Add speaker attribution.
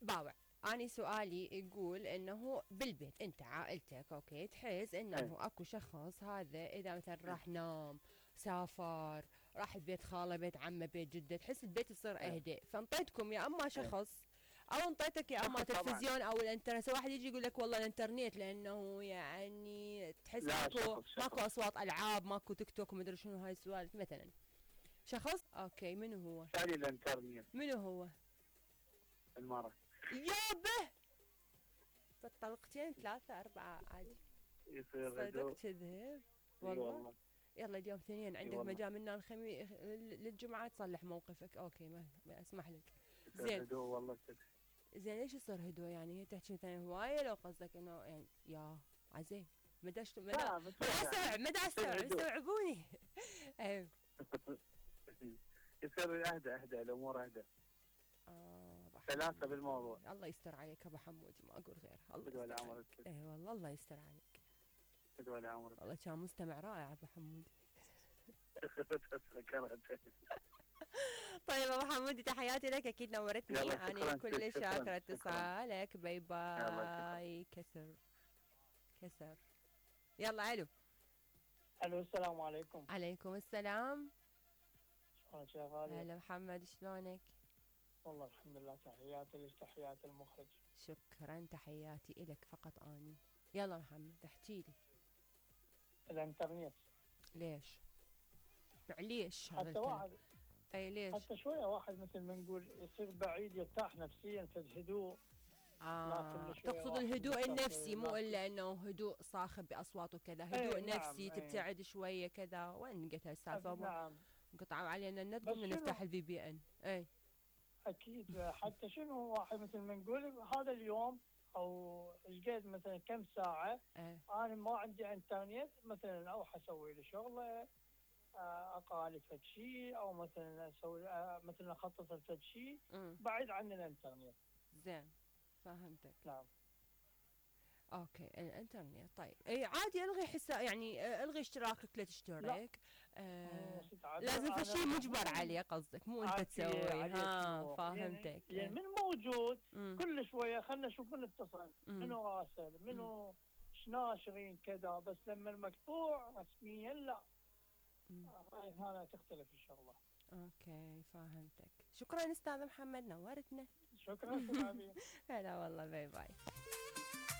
Speaker 1: باوع. أنا سؤالي يقول انه بالبيت انت عائلتك اوكي تحس انه اكو شخص هذا اذا مثلا راح نام سافر راح بيت خاله بيت عمه بيت جده تحس البيت يصير اهدى فانطيتكم يا اما شخص او انطيتك يا اما تلفزيون او الانترنت واحد يجي يقول لك والله الانترنت لانه يعني تحس ماكو اصوات العاب ماكو تيك توك ومدري شنو هاي السوالف مثلا شخص اوكي منو هو
Speaker 2: ثاني الانترنت
Speaker 1: منو هو
Speaker 2: المرة
Speaker 1: يابه فالطلقتين 3 4 عادي
Speaker 2: يصير
Speaker 1: صدق كذب والله يلا اليوم ثنين عندك مجال منا الخميس للجمعة تصلح موقفك اوكي ما اسمح لك
Speaker 2: زين هدوء والله
Speaker 1: زين ليش يصير هدوء يعني تحكي مثلا هواية لو قصدك انه يعني يا عزيز مدى استوعب استوعبوني ايوه
Speaker 2: يصير اهدى الامور اهدى ثلاثة بالموضوع
Speaker 1: الله يستر عليك ابو حمود ما اقول غير الله يستر عليك اي والله الله يستر عليك والله كان مستمع رائع ابو حمود طيب ابو حمودي تحياتي لك اكيد نورتني انا كل شاكره اتصالك باي باي كسر يلا
Speaker 3: الو السلام عليكم.
Speaker 1: عليكم السلام
Speaker 3: شلونك يا غالي؟
Speaker 1: هلا محمد شلونك؟
Speaker 3: والله الحمد لله تحياتي لك تحيات المخرج.
Speaker 1: شكرا تحياتي إلك فقط اني. يلا محمد احكي لي.
Speaker 3: الانترنت
Speaker 1: ليش؟ معليش هذا
Speaker 3: حتى واحد
Speaker 1: اي ليش؟
Speaker 3: حتى شويه واحد مثل ما نقول يصير بعيد يرتاح نفسيا في الهدوء.
Speaker 1: تقصد الهدوء النفسي مو الا انه هدوء صاخب باصوات وكذا هدوء نفسي نعم تبتعد شويه كذا. وين قلت هالسالفه؟
Speaker 3: نعم
Speaker 1: قطعوا علينا النت قمنا نفتح الفي بي ان. اي
Speaker 3: اكيد حتى شنو واحد مثل ما نقول هذا اليوم او ايش قد مثلا كم ساعه انا ما عندي انترنت مثلا اروح اسوي لي شغله اقالي فد شيء او مثلا اسوي مثلا اخطط لفد شيء بعيد عن الانترنت.
Speaker 1: زين فهمتك.
Speaker 3: نعم
Speaker 1: اوكي الانترنت طيب اي عادي الغي حساب يعني الغي اشتراكك لا تشترك لازم في شيء مجبر عليه قصدك مو انت تسوي. فهمتك
Speaker 3: يعني من موجود كل شويه خلنا نشوف من اتصل منو راسل منو ناشرين كذا بس لما المقطوع رسميا لا هنا تختلف الشغله.
Speaker 1: اوكي فهمتك. شكرا استاذ محمد نورتنا.
Speaker 3: شكرا حبيبي.
Speaker 1: هلا والله باي باي.